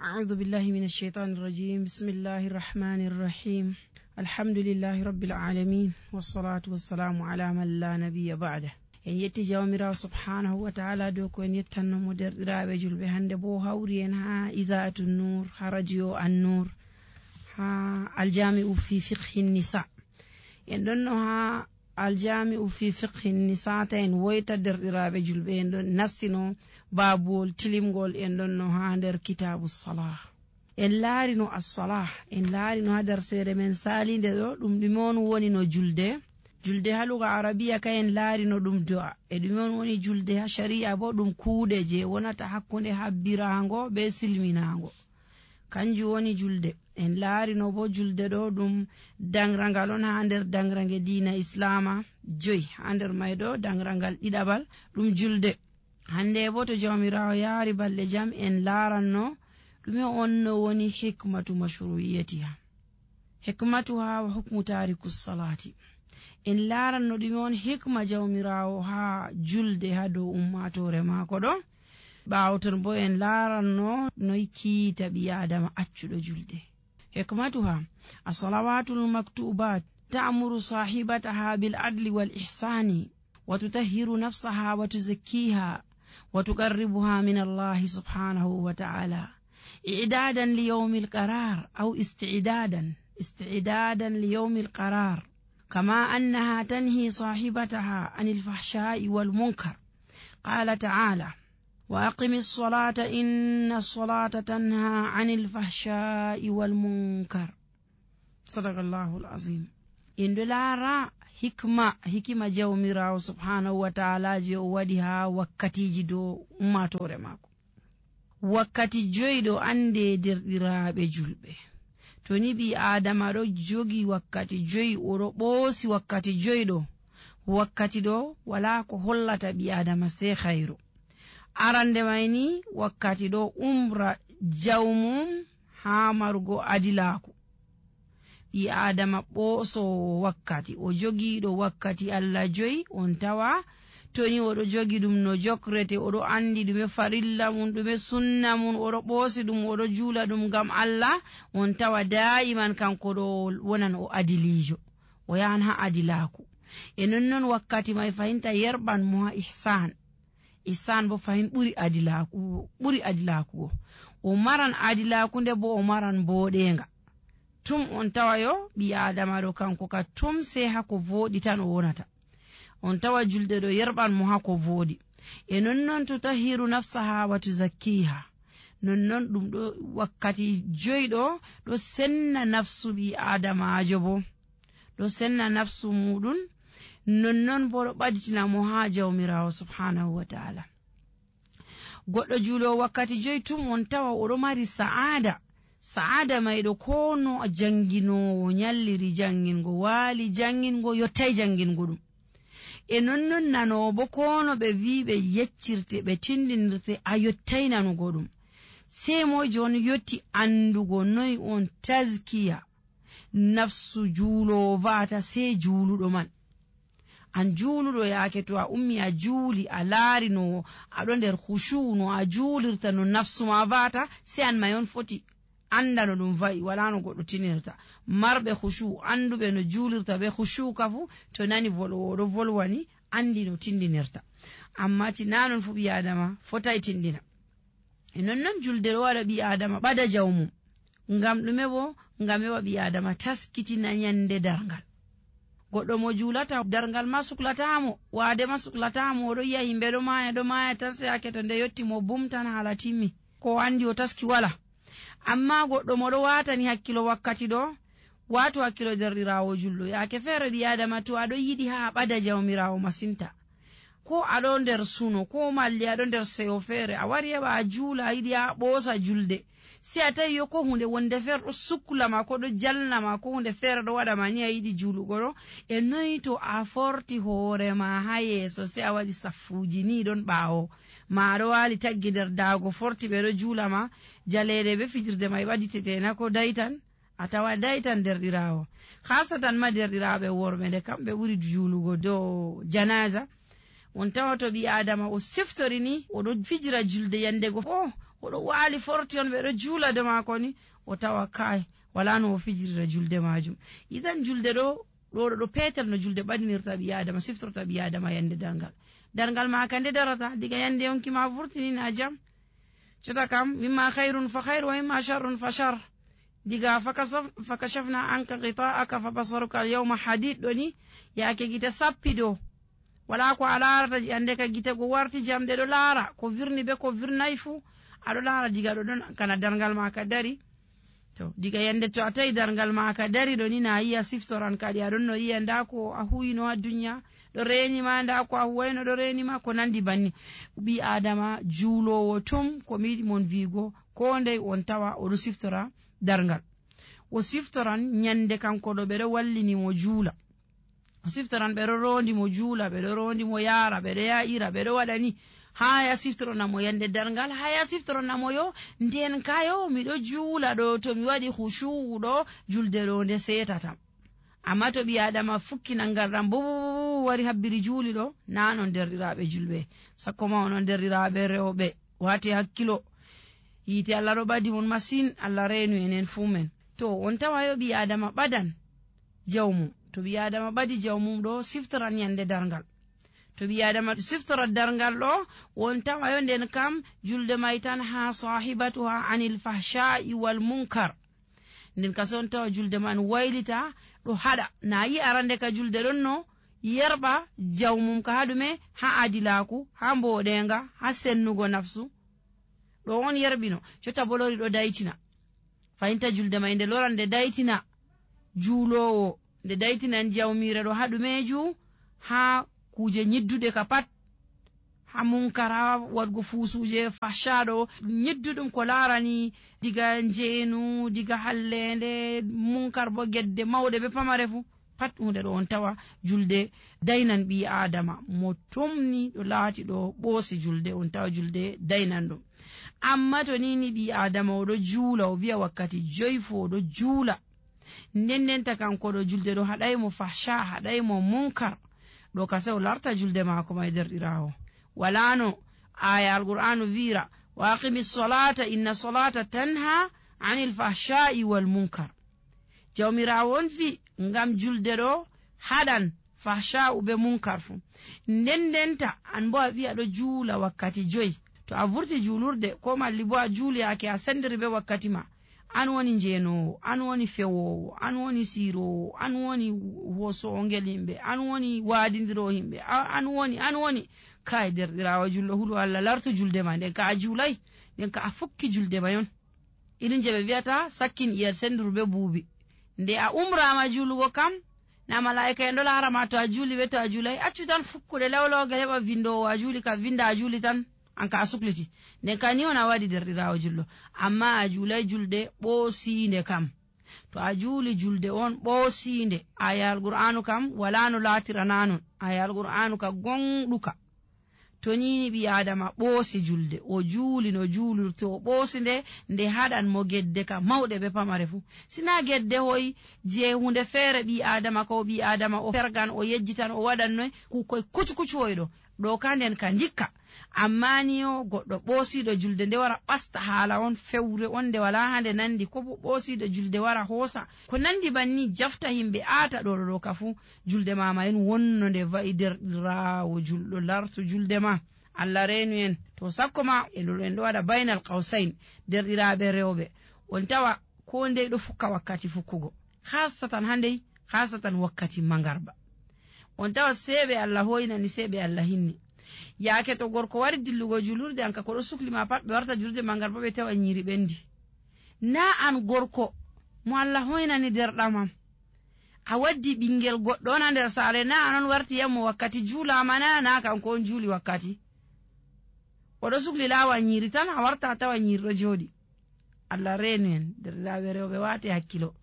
أعوذ بالله من الشيطان الرجيم. بسم الله الرحمن الرحيم. الحمد لله رب العالمين والصلاة والسلام على من لا نبي بعده. en yetti jawmirawo subhanahu wa ta'ala dow ko en yettannomo derɗiraɓe julɓe hande bo hawri en ha isaatu nour ha radio an-nour ha aljami'u fi fiqhi nisa. en ɗonno ha aljami'u fi fiqhi nisa ta en woyta derɗiraɓe julɓe en ɗon nastino babuwol tilimgol en ɗonno ha nder kitabu salah. en laarino as-salah, en laarino ha nder seere men salinde ɗo ɗum ɗume on woni no julde ha luga arabiya ka en laarino ɗum do'a, e ɗume on woni julde ha shari'a bo ɗum kuuɗe je wonata hakkunde habbirango be silminago, kanjum woni julde. en laarino bo julde ɗo ɗum dangrangal on ha nder dangrange diina islama joyi, ha nder may ɗo dangrangal ɗiɗaɓal ɗum julde. hande bo to jawmirawo yaari balɗe jam en laaranno ɗume on no woni hikmatu mashru'iyatiha, hikmatuha wa hukmu tariku salati. en laaranno ɗume on hikma jawmirawo ha julde ha dow ummatore maako ɗo. ɓaawo ton bo en laaranno noy kiita ɓi adama accuɗo julde. hikmatuha as-salawatul maktubat ta'muru sahibataha bil adli wal ihsani wa tutahhiru nafsaha wa tuzakkiha wa tuqarribuha min Allah subhanahu wa ta'ala i'dadan li yawmil qarar aw isti'dadan li yawmil qarar, kama annaha tanhi sahibataha anil fahsha'i wal munkar. qala ta'ala وأقم الصلاة إن الصلاة تنهى عن الفحشاء والمنكر. صدق الله العظيم. إن دلارا hikma jawmirawo subhanahu wa ta'ala je o waɗi ha wakkatiji dow ummatore mako. wakkati joyɗo ande derɗiraɓe julɓe, to ni ɓi adama ɗo jogi wakkati joyi, oɗo ɓoosi wakkati joyɗo, wakkati ɗo wala ko hollata ɓi adama sai khairu. arande mayni wakkati ɗo umra jawmum ha marugo adilaku. ɓi adama ɓoosowo wakkati, o jogiiɗo wakkati Allah joyi, on tawa toni oɗo jogi ɗum no jokrate, oɗo andi ɗume farilla mum ɗume sunna mum, oɗo ɓoosi ɗum, oɗo juula ɗum ngam Allah, on tawa da'iman kanko ɗo wonan o adilijo, o yahan ha adilaku. e nonnon wakkati may fahinta yerɓan mo ha ihsan bo fahin ɓuri adilaku o maran adilaku nde bo o maran boɗenga. tum on tawa yo ɓi adama ɗo kanko ka tum sai hako voɗi tan o wonata, on tawa julde ɗo yerɓan mo hako voɗi. e nonnon tutahiru nafsaha wa tuzakkiha, nonnon ɗum ɗo wakkati joyɗo ɗo senna nafsu ɓi adamajo, bo ɗo senna nafsu muɗum, nonnon bo ɗo ɓaditina mo ha jawmirawo subhanahu wa ta'ala. goɗɗo juulo wakkati joyi tum on tawa oɗo mari sa'ada mayɗo ko no janginowo nyalliri jangingo, waali jangingo, yottai jangingo ɗum. e nonnon nanowo bo ko no ɓe wi ɓe yeccirte ɓe tindinirte a yottai nanugo ɗum. sai mo jon yotti andugo noy on tazkiya nafsu juulowo va'ata, sai juuluɗo man. an juuluɗo yaake to a ummi a juuli a laari no aɗo nder khushu no a juulirta no nafsu ma va'ata, sai an mayon foti anda no ɗum va'i, wala no goɗɗo tinirta. marɓe khushu anduɓe no juulirta be khushu kafu to nani volwowo ɗo volwani andi no tindinirta, amma ti nanon fu ɓi adama fotai tindina. e nonnon julde ɗo waɗa ɓi adama ɓada jawmum, ngam ɗume bo? ngam heɓa ɓi adama taskitina nyande darngal. goɗɗo mo juulata darngal ma suklatamo, waade ma suklatamo, oɗo yi'a yimɓe ɗo maya tan sai yake to nde yotti mo bumtan hala timmi, ko andi o taski wala. amma goɗɗo moɗo watani hakkilo wakkati ɗo, wato hakkilo derɗirawo julɗo. yake feere ɓi adama to aɗo yiɗi ha ɓada jawmirawo masinta, ko aɗo nder suno, ko malli aɗo nder seyo feere, a wari heɓa a juula, a yiɗi ha ɓoosa julde, sai a tawi yo ko hunde wonde feere ɗo suklama, ko ɗo jalnama, ko hunde feere ɗo waɗama ni a yiɗi juulugo ɗo. e noyi to a forti hoorema ha yeeso, sai a waɗi saffuji ni ɗon ɓaawo ma, aɗo waali taggi nder daago forti ɓe ɗo juulama, jaleede be fijirde may ɓaditetena ko daytan, a tawa daytan derɗirawo. hasatan ma derɗiraɓe worɓe nde kamɓe ɓuri juulugo dow janaza. on tawa to ɓi adama o seftori ni oɗo fijira julde yandego oɗo waali forti on ɓeɗo juula de maako ni o tawa kai wala no o fijirira julde majum. Idan julde ɗo petel no julde ɓadinirta ɓi adama, siftorta ɓi adama yande darngal maka nde darata diga yande yonki ma vurtini na jam. Cota kam mimma khairun fa khair wa mimma sharrun fa shar. Diga fakashafna anka ghita'aka fa basaruka al-yawma hadid ɗoni yake gite sappi ɗo wala ko a larata ande ka gite go warti jamɗe ɗo laara ko virni be ko virnayi fu aɗo laara diga ɗo ɗon kana darngal maka dari. To diga yande to a tawi darngal maka dari ɗo ni na yi'a siftoran kadi aɗon no yi'a nda ko a huwino ha duniya ɗo renima, nda ko a huwayno ɗo renima, ko nandi banni. Ɓi adama juulowo tum ko mi yiɗi mon vigo ko ndey on tawa oɗo siftora darngal. O siftoran nyande kanko ɗo ɓeɗo wallini mo juula, o siftoran ɓeɗo rondi mo juula, ɓeɗo rondi mo yaara, ɓeɗo ya'ira, ɓeɗo waɗani haya siftoronamo yande darngal, haya siftoronamo yo nden kayo miɗo juula ɗo to mi waɗi hushu'u ɗo julde ɗo nde setatam. Amma to ɓi adama fukkina ngarɗam bo wari habbiri juuli ɗo nanon derɗiraɓe julɓe, sakko ma onon derɗiraɓe rewɓe wati hakkilo, yite Allah ɗo ɓadi mon masin, Allah renu enen fu men. To on tawa yo ɓi adama ɓadan jawmum, to ɓi adama ɓadi jawmum ɗo siftoran yande darngal. To ɓi adama siftora darngal ɗo won tawa yo nden kam julde may tan ha sahibatuha anil fahsha'i wal munkar. Nden kasi on tawa julde man waylita ɗo haɗa, na yi arande ka julde ɗon no yerɓa jawmum ka haɗume ha adilaku, ha mboɗenga, ha sennugo nafsu ɗo on yerbino. Cota bolori ɗo daytina fayinta julde may nde loran nde daytina juulowo, nde daytinan jawmire ɗo haɗumeju ha kuje nyiddude ka pat, ha munkara wadgo fuusuje fashaɗo nyidduɗum ko larani diga njeenu, diga hallende, munkar bo gedde mawɗe be pamare fu pat hunde ɗo on tawa julde daynan ɓi adama mo tumni ɗo laati ɗo ɓoosi julde, on tawa julde daynan ɗum. Amma to nini ɓi adama oɗo juula, o wiya wakkati 5 fu oɗo juula, ndendenta kanko ɗo julde ɗo haɗaymo fasha, haɗaymo munkar, ɗo kase o larta julde maako may derɗirawo. walano aya alqur'anu vira wa aqimi salata inna salata tanha anil fahsha'i wal munkar. Jawmirawo on fi ngam julde ɗo haɗan fahsha'u be munkar fu, ndendenta an bo a wi'a ɗo juula wakkati 5. To a vurti juulurde ko malli bo a juuli yake a sendiri be wakkati ma, an woni njeenowo, an woni fewowo, an woni siirowo, an woni hosowo ngel himɓe, an woni waadindiro himɓe, an woni kai derɗirawo julɗo huɗo Allah lartu julde ma, nden ka a juulay, nden ka a fukki julde ma yon. Irin je ɓe wiyata sakkin iyal sendiru be buubi. Nde a umrama juulugo kam na malaika en ɗo larama to a juuli be to a juulay, accu tan fukkude lawlawgal heɓa vindowo a juuli ka vinda a juuli tan an ka a sukliti, nden ka ni on a waɗi derɗirawo julɗo. Amma a juulay julde ɓoosinde kam, to a juuli julde on ɓoosinde, aya alqur'anu kam wala no laatira nanon, aya alqur'anu ka gonɗuka. To nini ɓi adama ɓoosi julde, o juuli no juulirte, o ɓoosi nde haɗan mo gedde ka mawɗe be pamare fu. Sina gedde hoy je hunde feere ɓi adama ko ɓi adama o fergan o yejjitan o waɗannoy kukoy kucukucuwoyɗo ɗo ka nden ka ndikka. Amma ni o goɗɗo ɓoosiɗo julde nde wara ɓasta haala on fewre on nde wala hande nandi, ko bo ɓoosiɗo julde wara hoosa ko nandi banni jafta himɓe aata ɗo ka fu, julde mama en wonno nde wa'i derɗirawo julɗo lartu julde ma, Allah renu en. To sakko ma en ɗo waɗa bainal qawsain, derɗiraɓe rewɓe on tawa ko ndey ɗo fukka wakkati fukkugo, hasatan handey, hasatan wakkati mangarba. On tawa seɓe Allah hoynani, seɓe Allah hinni. Yaake to gorko wari dillugo julurde anka ko ɗo sukli ma pat ɓe warta julurde mangarba ɓe tawa nyiri ɓendi. Na an gorko mo Allah hoynani derɗamam a waddi ɓingel goɗɗo on ha nder saare, na anon warti yammo wakkati juulama, na kanko on juuli wakkati, oɗo sukli lawa nyiri tan a warta a tawa nyiri ɗo jooɗi. Allah renu en derɗiraɓe rewɓe wate hakkilo,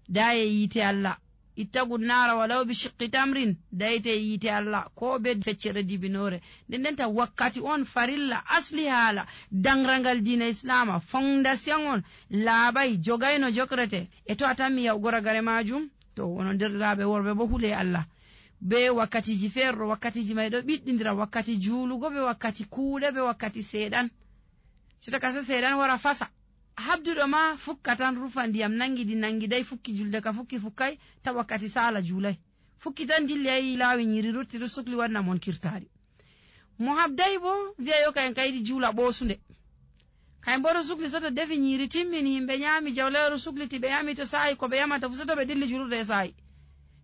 daye yite Allah, ittagu nara walaw bi shiqqi tamrin, dayte yite Allah ko be feccere dibinore. Ndendenta wakkati on farilla asli haala dangrangal dina islama, fondation on laaɓay jogayno jokrate, e to a tammi yaw goragare majum to wono derɗiraɓe worɓe bo hule Allah be wakkatiji feerɗo, wakkatiji may ɗo ɓiɗɗindira, wakkati juulugo be wakkati kuuɗe be wakkati seeɗan. sita kasa seeɗan wara fasa habduɗo ma fukka tan rufa ndiyam nangiday fukki julde ka fukkay ta wakkati sala julai fukki tan dilli ay laawi nyiri rutti ɗo sukli wanna mon kirtari mo habday bo wi'a yo kayen kaydi juula ɓoosunde kayen bo ɗo sukli soto defi nyiri timmini himɓe nyami jawleero sukliti ɓe yami to sa'i ko ɓe yamata fu soto ɓe dilli julurde e sa'i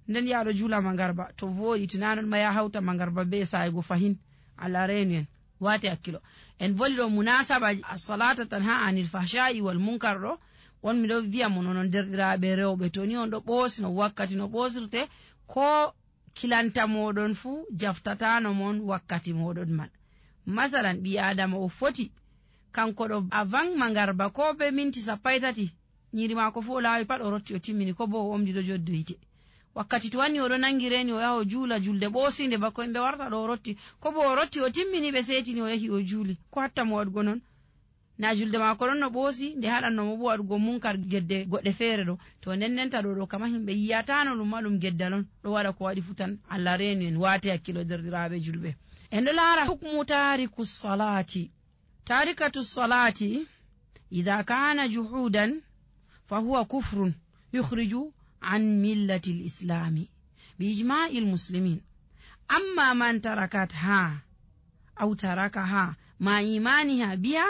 nden yaɗo juula mangarba to voɗi tinanon ma ya hawta mangarba be sa'i go fahin Allah reenu en wati hakkilo en voli ɗo munasaba as-salata tanha anil fahsha'i wal munkar ɗo on miɗo wi'a mo nonon derɗiraɓe rewɓe to ni on ɗo ɓoosi no wakkati no ɓoosirte ko kilanta moɗon fu jaftatano mon wakkati moɗon man masalan ɓi adama o foti kanko ɗo a van mangarba ko be minti 30 nyiri mako fu o laawi pat o rotti o timmini ko bo o omdi ɗo joddo yite wakkati to wanni oɗo nangi reni o yaha o juula julde ɓoosinde bako himɓe warta ɗo o rotti ko bo o rotti o timmini ɓe setini o yahi o juuli ko hatta mo waɗugo non na julde mako ɗon no ɓoosi nde haɗannomo bo waɗugo munkar gedde goɗɗe feere ɗo to ndennenta ɗo kama himɓe yiyatano ɗum ma ɗum geddal on ɗo waɗa ko waɗi futan Allah reenu en waati hakkilo derɗiraɓe julɓe en ɗo laara hukmu tarikatu salati idha kana juhudan fa huwa kufrun yukhriju عن ملة الإسلام بإجماع المسلمين أما من تركتها أو تركها مع إيمانها بها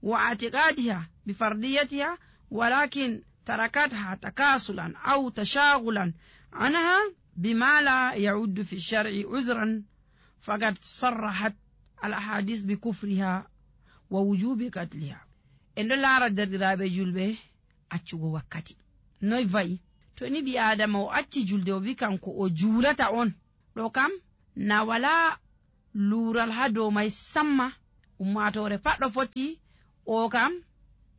واعتقادها بفرديتها ولكن تركتها تكاسلا أو تشاغلا عنها بما لا يعد في الشرع عذرا فقد صرحت الأحاديث بكفرها ووجوب قتلها إن لا رد رابي أتشغو وكتي نوي فاي to ni ɓi adama o acci julde o wi kanko o juulata on ɗo kam na wala luural ha dow mai samma ummatore pat ɗo foti o kam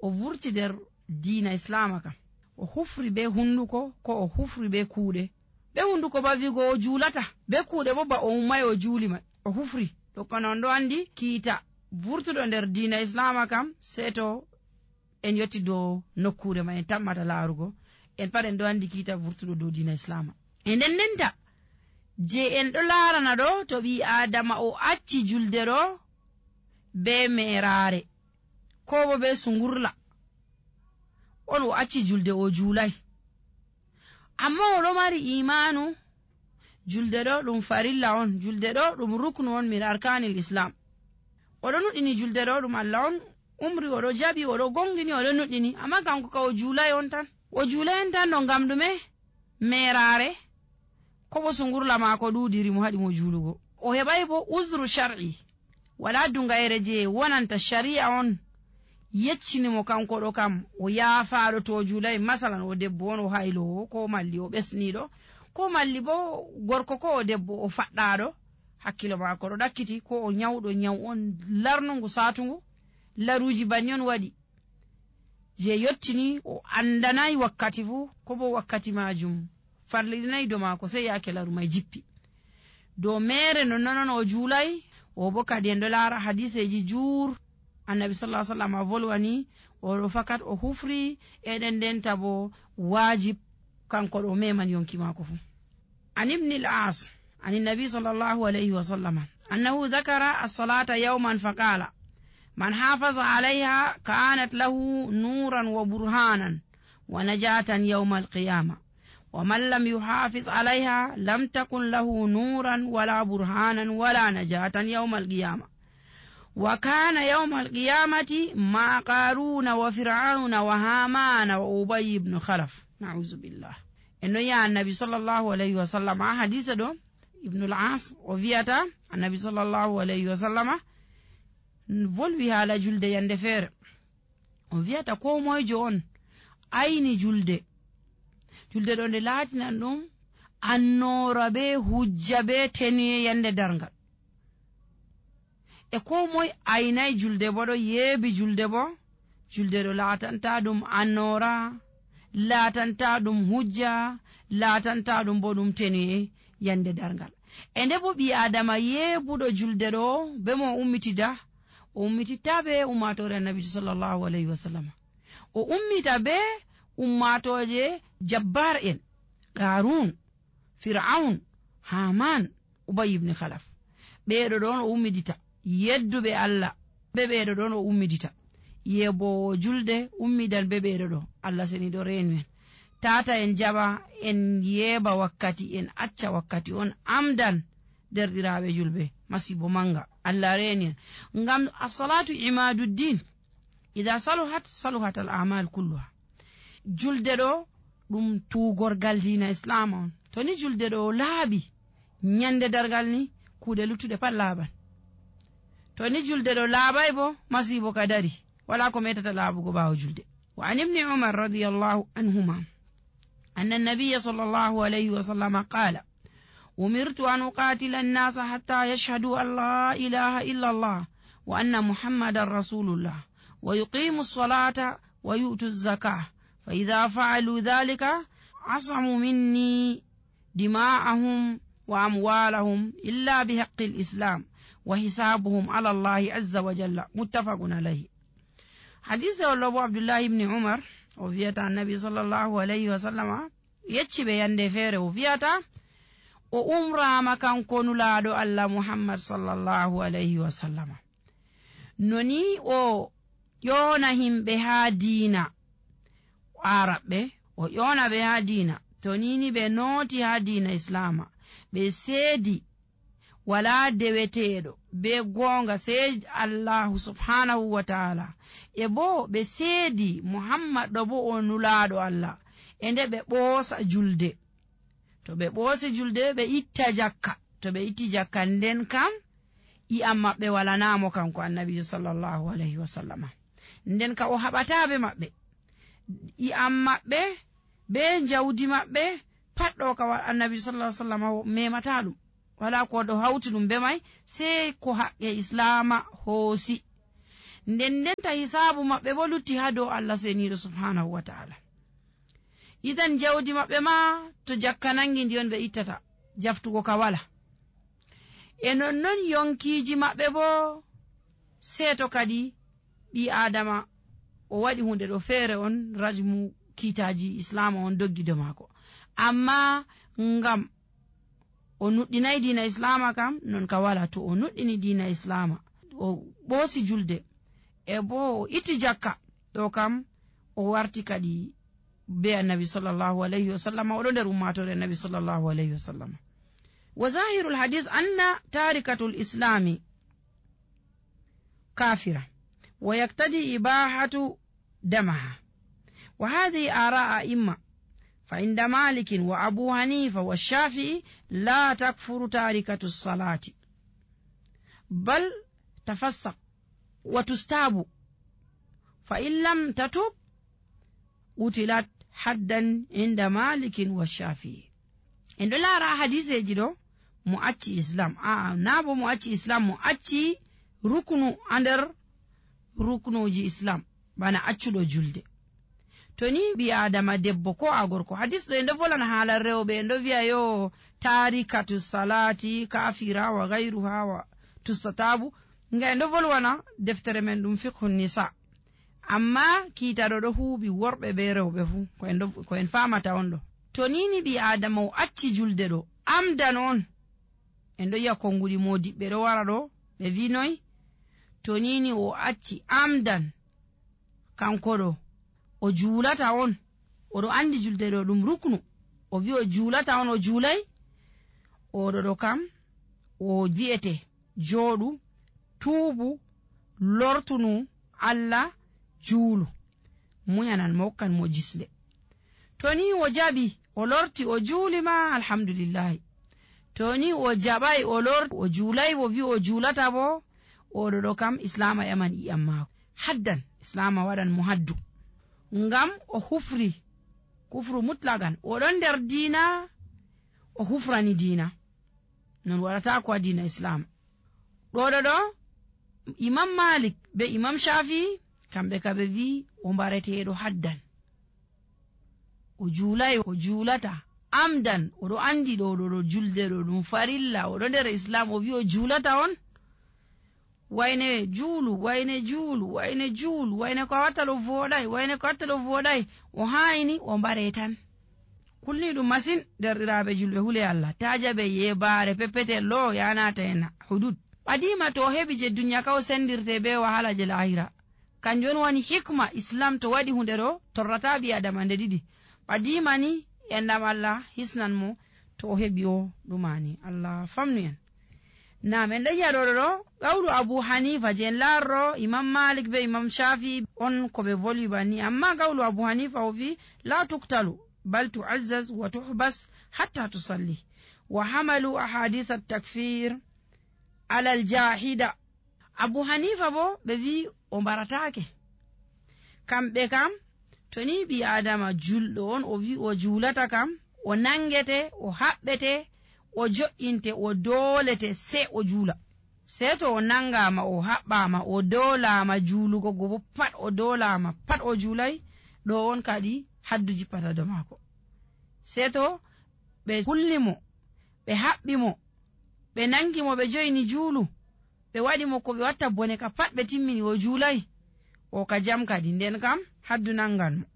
o vurti nder diina islama kam o hufri be hunduko ko o hufri be kuuɗe be hunduko ba wigo o juulata be kuuɗe bo ba o ummay o juuli mai o hufri to kono on ɗo andi kiita vurtuɗo nder diina islama kam seto en yotti dow nokkure ma en tammata laarugo en pat en ɗo andi kiita vurtuɗo dow diina islama e ndendenta je en ɗo laarana ɗo to ɓi adama o acci julde ɗo be merare ko bo be sungurla on o acci julde o juulay amma oɗo mari imanu julde ɗo ɗum farilla on julde ɗo ɗum ruknu on min arkanil islam oɗo nuɗɗini julde ɗo ɗum Allah on umri oɗo jaɓi oɗo gongini oɗo nuɗɗini amma kanko ka o juulay on tan o juulayen tan no ngam ɗume merare ko bo sungurla maako ɗuɗiri mo haɗi mo juulugo o heɓay bo uzru shar'i wala dungayere je wonanta shari'a on yeccinimo kanko ɗo kam o yaafaɗo to o juulay masalan o debbo on o haylowo ko malli o ɓesniɗo ko malli bo gorko ko o debbo o faɗɗaɗo hakkilo maako ɗo ɗakkiti ko o nyawɗo nyaw on larnungu satungu laruji banni on waɗi je yottini o andanayi wakkati fu ko bo wakkati majum farlidinayi do maako sey yaake laru may jippi do mere nonnon o juulay o bo kadi en ɗo laara hadiseji juur annabi sallallahu alaihi wasallam volwani oɗo fakat o hufri eɗen ndenta bo wajib kanko ɗo meman yonki maako fu an ibn al-as an nabi sallallahu alaihi wasallam annahu dhakara as-salata yawman faqala من حافظ عليها كانت له نورا وبرهانا ونجاة يوم القيامة ومن لم يحافظ عليها لم تكن له نورا ولا برهانا ولا نجاة يوم القيامة وكان يوم القيامة مع قارون وفرعون وهامان وأبي بن خلف نعوذ بالله إنه يا النبي صلى الله عليه وسلم حديث دو ابن العاص وفيتا النبي صلى الله عليه وسلم volwi haala julde yande feere o wiyata ko moyjo on ayni julde ɗo nde laatinan ɗum annora be hujja be tenuye yande darngal e ko moy aynay julde bo ɗo yeebi julde bo julde ɗo laatanta ɗum annora laatanta ɗum hujja laatanta ɗum bo ɗum tenuye yande darngal e nde bo ɓi adama yeebuɗo julde ɗo be mo ummitida o ummititta be ummatore annabi sallallahu alaihi wasallam o ummita be ummatoje jabbar en qarun fir'aun haman ubay ibn khalaf ɓeɗo ɗon o ummidita yedduɓe Allah be ɓeɗo ɗon o ummidita yebowo julde ummidan beɓeɗo ɗo Allah seni ɗo renu en tata en jaɓa en yeba wakkati en acca wakkati on amdan derɗiraɓe julɓe masibo manga Allah reni en ngam as-salatu imaduddin idha saluhat al-a'mal kulluha julde ɗo ɗum tugorgal dina islam on to ni julde ɗo laaɓi nyande dargal ni kuuɗe luttuɗe pat laaɓan to ni julde ɗo laaɓai bo masibo ka dari wala ko metata laaɓugo ɓawo julde wa an ibni umar radiyallahu anhuma anna an-nabiyya sallallahu alayhi wa sallam qala umirtu an uqatila an-nasa hatta yashhadu an la ilaha illa Allah wa anna muhammadan rasulullah wa yuqimu as-salata wa yu'tu az-zakah fa idha fa'alu dhalika asamu minni dima'ahum wa amwalahum illa bihaqqi al-islam wa hisabuhum ala Allah azza wa jalla muttafaqun alayhi. Hadise wallo Abdullah ibn Umar o wiyata annabi sallallahu alayhi wa sallama yecci ɓe yande feere o wiyata o umrama kanko nulaaɗo Allah Muhammad sallallahu alayhi wa sallama noni o ƴona himɓe ha diina araɓɓe o ƴona ɓe ha diina to nini ɓe nooti ha diina islama ɓe seedi wala deweteeɗo be gonga sey Allahu subhanahu wa ta'ala e bo ɓe seedi Muhammad ɗo bo o nulaaɗo Allah e nde ɓe ɓoosa julde to ɓe ɓoosi julde ɓe itta jakka to ɓe itti jakka nden kam i'am maɓɓe walanamo kanko annabijo sallallahu alayhi wa sallama nden ka o haɓataɓe maɓɓe i'am maɓɓe be jawdi maɓɓe pat ɗo ka annabijo sallallahu alayhi wa sallama memata ɗum wala ko ɗo hawti ɗum be may sey ko haqqe islama hoosi nden ta hisabu maɓɓe bo lutti ha dow Allah seniɗo subhanahu wa ta'ala idan jawdi maɓɓe ma to jakka nangi ndi on ɓe ittata jaftugo ka wala e nonnon yonkiji maɓɓe bo seeto kadi ɓi adama o waɗi hunde ɗo feere on rajmu kiitaji islama on doggido maako amma ngam o nuɗɗinay diina islama kam non ka wala to o nuɗɗini diina islama o ɓoosi julde e bo o itti jakka ɗo kam o warti kadi be annabi sallallahu alayhi wa sallam oɗo nder ummatore annabi sallallahu alayhi wa sallam wa zahirul hadith anna tarikatul islami kafira wa yaktadi ibahatu damaha wa hadhihi ara'a imma فعند مالك وأبو حنيفة والشافعي لا تكفر تاركة الصلاة بل تفسق وتستاب فإن لم تتب قتلت حدا عند مالك والشافعي عند لا را حديث يجدو مؤتي إسلام نابو مؤتي إسلام مؤتي ركن أندر ركنو جي إسلام بانا أتشلو جلد to ni bi adama debbo ko a gorko hadis ɗo endo volana haala rewɓe endo wiya yo tarikatu salati kafira wa gayruha wa tustatabu nga endo volwana deftere men ɗum fiqhun nisa amma kiitaɗo ɗo huuɓi worɓe be rewɓe fu ko en famata on ɗo to nini bi adama o acci julde ɗo amdan on endo yiya konguɗi modiɓɓe ɗo wara ɗo ɓe winoy to nini o acci amdan kanko ɗo o juulata on oɗo andi julde ɗo ɗum ruknu o wi o juulata on o juulay oɗo ɗo kam o wi'ete jooɗu tuubu lortunu Allah juulu muyanan mo hokkan mo jisle to ni o jaɓi o lorti o juuli ma alhamdulillahi to ni o jaɓay o lorti o juulay o wi o juulata bo oɗo ɗo kam islama yaman i'am maako haddan islama waɗan mo haddu ngam o hufri kufru mutlagan oɗon nder diina o hufrani diina non waɗata ko a diina islam ɗoɗo ɗo imam malik be imam shafi kamɓe kaɓe wi o mbareteɗo haddan o juulay o juulata amdan oɗo andi ɗo julde ɗo ɗum farilla oɗo nder islam o wi o juulata on wayne juulu wayne juulu wayne juulu wayne ko wattalo voɗay wayne ko wattalo voɗay o hayni o mbare tan kulni ɗum masin derɗiraɓe julɓe hule Allah tajaɓe yebare peppetel lo yanata en hudud ɓadima to heɓi je duniya ka o sendirte be wahala je lahira kanjum woni hikma islam to waɗi hunde ɗo torrata ɓi adama nde ɗiɗi ɓadimani endam Allah hisnan mo to o heɓi o ɗumani. Allah famnu en. Nam en ɗon yi'a ɗo qawlu Abu Hanifa je en larro Imam Malik be Imam Shafi on ko ɓe volwi banni, amma qawlu Abu Hanifa o wi la tuktalu bal tu'azzaz wa tuhbas hatta tusalli, wa hamalu ahadith at-takfir ala al-jahida. Abu Hanifa bo ɓe wi o mbaratake, kamɓe kam to ni ɓi adama julɗo on o wi o julata kam o nangete o haɓɓete o jo'inte o dolete se o jula. Se to o nangama o haɓɓama o dolama julugo go bo pat o dolama pat o julai, ɗo on kadi haddu jippata do mako. Se to ɓe kulli mo ɓe haɓɓi mo ɓe nangi mo ɓe joyini julu ɓe waɗi mo ko ɓe watta bone ka pat ɓe timmini o julai, o ka jam kadi nden kam haddu nangan mo.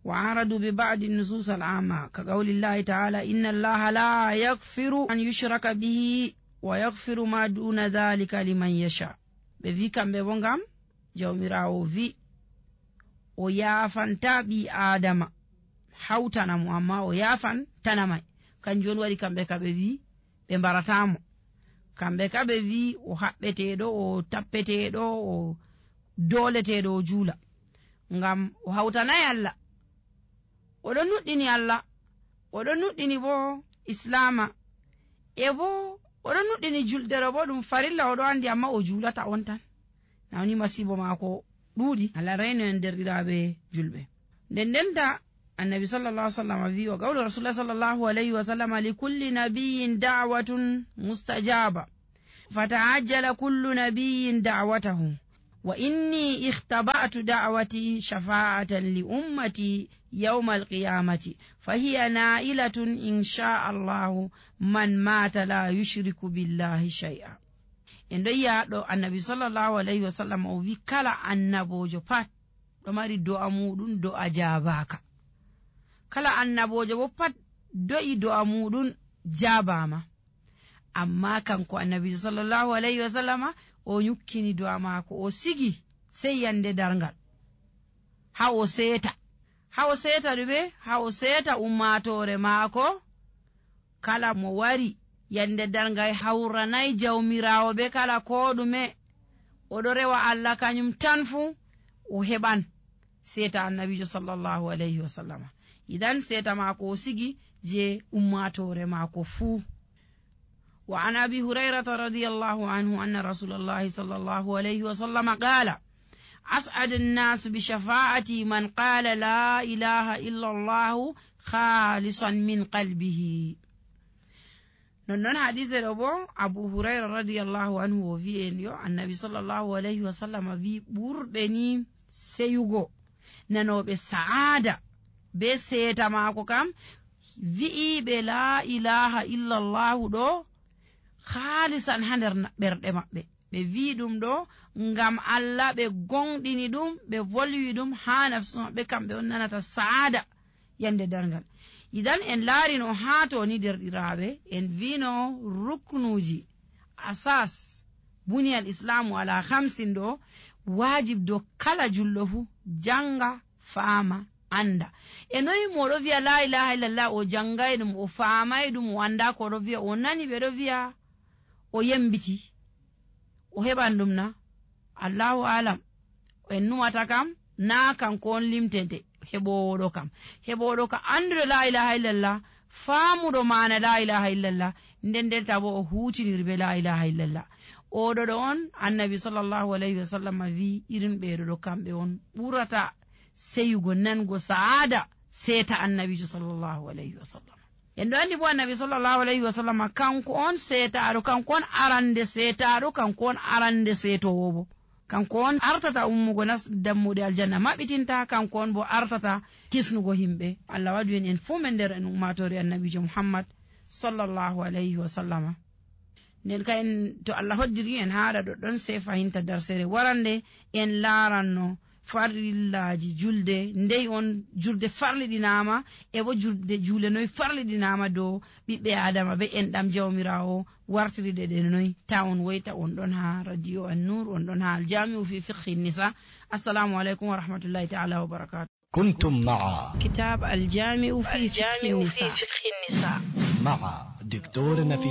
وعرضوا ببعض النصوص العامة كقول الله تعالى إن الله لا يغفر أن يشرك به ويغفر ما دون ذلك لمن يشاء. بفي كم ببونغام جوميراو في ويافن تابي آدم حوتنا مؤمما ويافن تنمي كان جون وري كم بكا بفي بمبارتامو كم بكا بفي وحبتيدو وتبتيدو ودولتيدو جولا ngam o hawtanay Allah, oɗon nuɗɗini Allah, oɗon nuɗɗini bo islama, e bo oɗon nuɗɗini juldere bo ɗum farilla oɗo andi amma o julata on tan. Nawni masibo mako ɗuuɗi. Allah rayno en derɗiraɓe julɓe. Nden ndenta annabi sallallahu alaihi wasallam wi wa qawlu rasulullah sallallahu alaihi wasallam li kulli nabiyyin da'watun mustajaba fata'ajjala kullu nabiyyin da'watahu وإني اختبأت دعوتي شفاعة لأمتي يوم القيامة فهي نائلة إن شاء الله من مات لا يشرك بالله شيئا. إن دو النبي صلى الله عليه وسلم وفي كلا النبوجو بات وماري دو أمودون دو أجاباك كلا النبوجو بات دو أمودون جاباما. amma kanko annabi sallallahu alaihi wasallama o nyukkini du'a mako o sigi sai yande darngal ha o seta dube ha o seta ummatore mako kala mo wari yande darngal hawranai jawmirawo be kala ko dume o do rewa Allah kanyum tanfu o heban seta annabi sallallahu alaihi wasallama. Idan seta mako o sigi je ummatore mako fu. وعن أبي هريرة رضي الله عنه أن رسول الله صلى الله عليه وسلم قال أسعد الناس بشفاعتي من قال لا إله إلا الله خالصا من قلبه. نون حديث أبو هريرة رضي الله عنه وفي النبي صلى الله عليه وسلم في بربني سيوغو نانو بسعادة بسيتا ماكو كام في بلا إله إلا الله دو khalisan hander ɓerɗe maɓɓe ɓe wi ɗum ɗo ngam Allah ɓe gonɗini ɗum ɓe volwi ɗum ha nafsu maɓɓe kamɓe on nanata saada yande darngal. Idan en laarino ha to ni derɗiraɓe en vino ruknuji asas buniyal islamu ala hamsin ɗo wajib do kala julɗo fu janga faama anda. E noyi moɗo wiya la ilaha illallah o jangay ɗum o faamay ɗum o anda ko ɗo wiya o nani ɓeɗo wiya o yembiti o heɓan ɗum na Allahu alam en numata kam na kanko on limtente heɓoɗo kam anduɗo la ilaha illallah faamuɗo mana la ilaha illallah nden bo o hutiniri be la ilaha illallah. oɗo ɗo on annabi sallallahu alaihi wasallam wi irin ɓeɗo ɗo kamɓe on ɓurata seyugo nango saada seta annabijo sallallahu alaihi wasallam. En ɗo andi bo annabi sallallahu alaihi wasallam kanko on setaɗo, kanko on arande setaɗo, kanko on arande setowo bo, kanko on artata ummugo nas dammuɗe aljanna maɓɓitinta, kanko on bo artata kisnugo himɓe. Allah waɗu en fu men nder en ummatori annabijo Muhammad sallallahu alaihi wasallam. nden ka en to Allah hoddiri en haɗa ɗoɗɗon se fahinta darsere warande en laranno farillaji julde ndey on julde farliɗinama e bo julde juule noy farliɗinama dow ɓiɓɓe adama be enɗam jawmirawo wartiriɗe ɗe noy ta on woyta on ɗon ha radio an-nur on ɗon ha aljami'u fi fiqhi nisa السلام عليكم ورحمة الله تعالى وبركاته. كنتم مع كتاب الجامع في فقه النساء مع دكتور نفيس